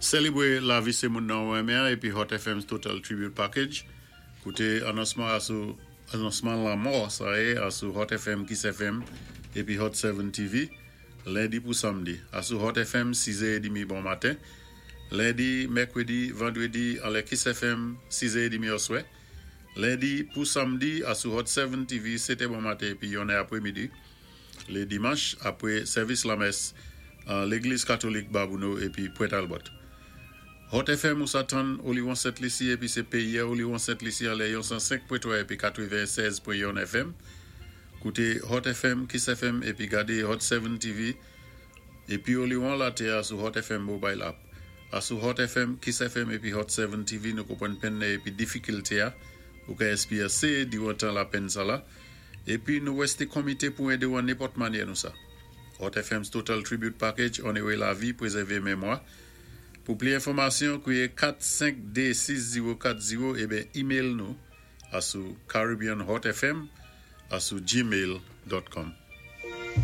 Sélébwé lavi sé moun nan ou renmen épi Hot FM's Total Tribute Package. Kouté anonsman asou anonsman lanmò sa é asou Hot FM, Kiss FM épi Hot 7 TV lendi pou samdi. Asou Hot FM 6 è edmi bon maten. Lendi, mèkwédi, vandwédi anlè Kiss FM 6 è edmi oswè. Lendi pou samdi asou Hot 7 TV 7 è bon maten épi 1 è apwémidi. Lé dimanch apwé sèvis lamès an légliz katolik Babouno épi Pwent Albòt. Hot FM ou sa tann Oliwon Sent Lisi épi sé péyi a Oliwon Sent Lisi anlè yon 105.3 épi 96.1 FM. Kouté Hot FM, Kiss FM épi gadé Hot 7 TV épi Oliwon latè a sou Hot FM Mobile App. Asou Hot FM, Kiss FM épi Hot 7 TV nou konpwann penn nan épi difikilté a ou ka èspéryansé diwan tan lapenn sa la épi nou wèsté konmité pou édé ou an nenpòt manyè nou sa. Hot FM's Total Tribute Package onoré lavi, pwézèvé memwa. Pou pli enfòmasyon, kwiyé 4 5 2 6 0 4 0 eben email nou asou caribbeanhotfm@gmail.com.